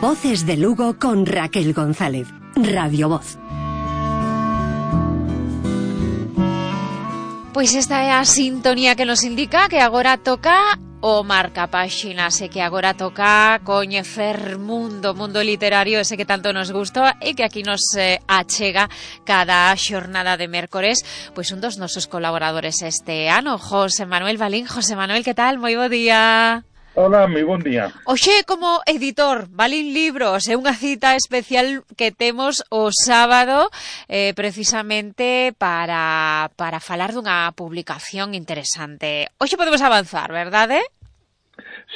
Voces de Lugo con Raquel González. Radio Voz. Pois esta é a sintonía que nos indica que agora toca o marcapáxinas e que agora toca coñecer mundo literario ese que tanto nos gusta e que aquí nos achega cada xornada de mércores, pois un dos nosos colaboradores este ano, José Manuel Balín. José Manuel, que tal? Moi bo día. Hola, moi bon día. Oxe, como editor, Balín Libros, é unha cita especial que temos o sábado precisamente para falar dunha publicación interesante. Oxe podemos avanzar, verdade?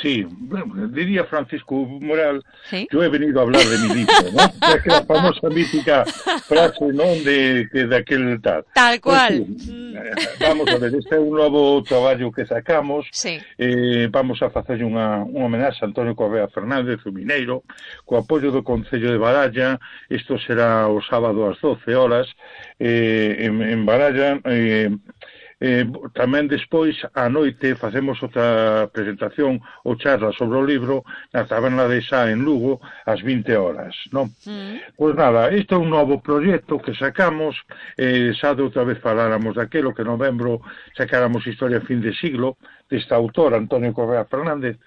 Sí, bueno, diría Francisco Moral, ¿Sí? Yo he venido a hablar de mi libro, ¿no? Es que la famosa mítica frase, ¿no?, de aquel tal. Tal cual. Pues, sí, vamos a ver, este é un novo traballo que sacamos. Sí. Vamos a facer unha homenaxe a Antonio Correa Fernández, o mineiro, co apoio do Concello de Baralla. Isto será o sábado ás 12 horas en Baralla. Tamén despois á noite facemos outra presentación ou charla sobre o libro na taberna de Sá en Lugo ás 20 horas, non? Pois nada, isto é un novo proxecto que sacamos. Xa de outra vez faláramos daquelo, que en novembro sacáramos Historia fin de siglo deste autor, Antonio Correa Fernández,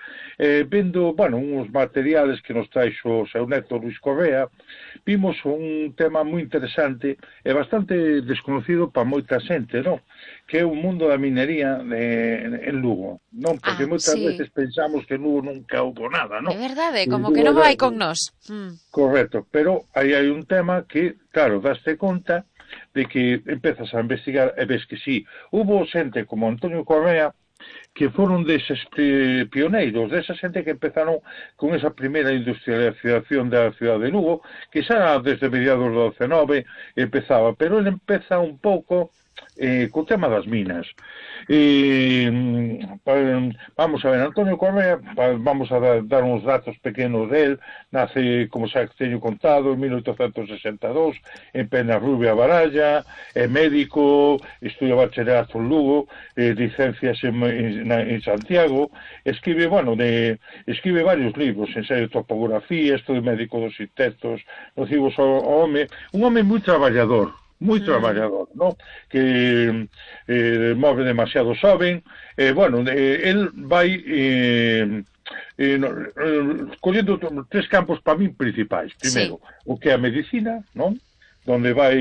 vendo, bueno, uns materiales que nos traixo o seu neto Luis Correa. Vimos un tema moi interesante e bastante desconocido para moita xente, non? Que é o mundo da minería en Lugo, non? Porque moitas veces pensamos que en Lugo nunca houbo nada, non? É verdade, como que non vai con nós. Correcto, pero aí hai un tema que, claro, daste conta de que empezas a investigar e ves que sí, hubo xente como Antonio Correa que foron deses pioneiros, desa xente que empezaron con esa primeira industrialización da cidade de Lugo, que xa desde mediados do 19 empezaba, pero ele empeza un pouco co tema das minas. Vamos a ver, Antonio Correa, vamos a dar uns datos pequenos del. Nace, como xa teño contado, en 1862 en Penarrubia, Baralla, é médico, estudia bachillerato en Lugo, licencias en Santiago, escribe varios libros, ensaio de topografía, estudio médico dos insectos nocivos ao home, un home moi traballador, ¿no? Que move demasiado xoven. El vai collendo tres campos para min principais. Primeiro, o que é a medicina, non? Donde vai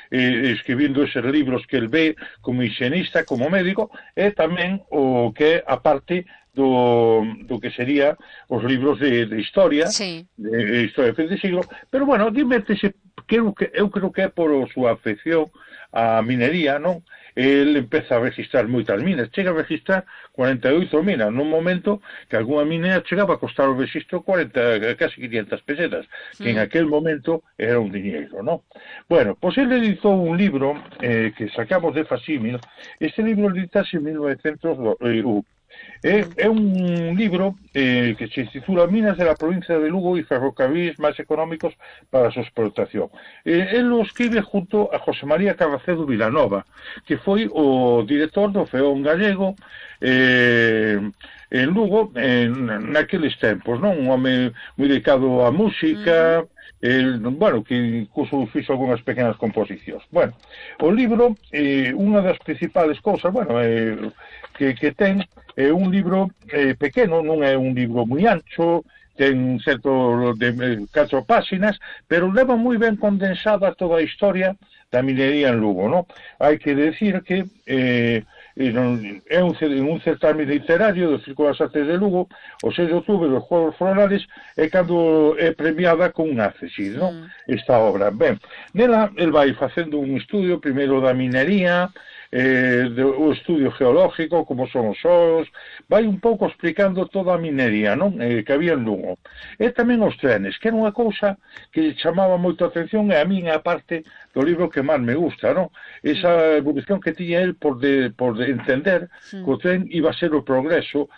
escribindo eses libros que el ve como higienista, como médico, e tamén o que é a parte do que sería os libros de historia, de historia de fin de siglo. Pero, bueno, dimétese, eu creo que é por a súa afección á minería, non? El empeza a registrar moitas minas, chega a registrar 48 minas, nun momento que algunha minera chegaba a costar o registro casi 500 pesetas, que en aquel momento era un diñeiro, non? Bueno, pois ele editou un libro que sacamos de Facímil. Este libro editase en 1901. É un libro que se titula Minas de la provincia de Lugo y ferrocarriles máis económicos para a súa explotación. Él lo escribe junto a José María Carracedo Vilanova, que foi o director do Feón Gallego en Lugo naqueles tempos, non? Un home moi dedicado á música, que incluso fixo algunhas pequenas composicións. Bueno, o libro, unha das principales cousas, que ten, é un libro pequeno, non é un libro moi ancho, ten certo de 4 páxinas, pero leva moi ben condensada toda a historia da minería en Lugo, non? Hai que decir que é un certame literario do Círculo das Artes de Lugo, o 6 de outubro dos Juegos Florales, é cando é premiada con un ACESID, non? Esta obra. Ben, nela, el vai facendo un estudio, primeiro da minería, o estudio geológico, como son os solos, vai un pouco explicando toda a minería, non? Que había en Lugo. E tamén os trenes, que era unha cousa que chamaba moito a atención, e a min a parte do libro que máis me gusta, non? Esa evolución que tiña el por entender que o tren iba a ser o progreso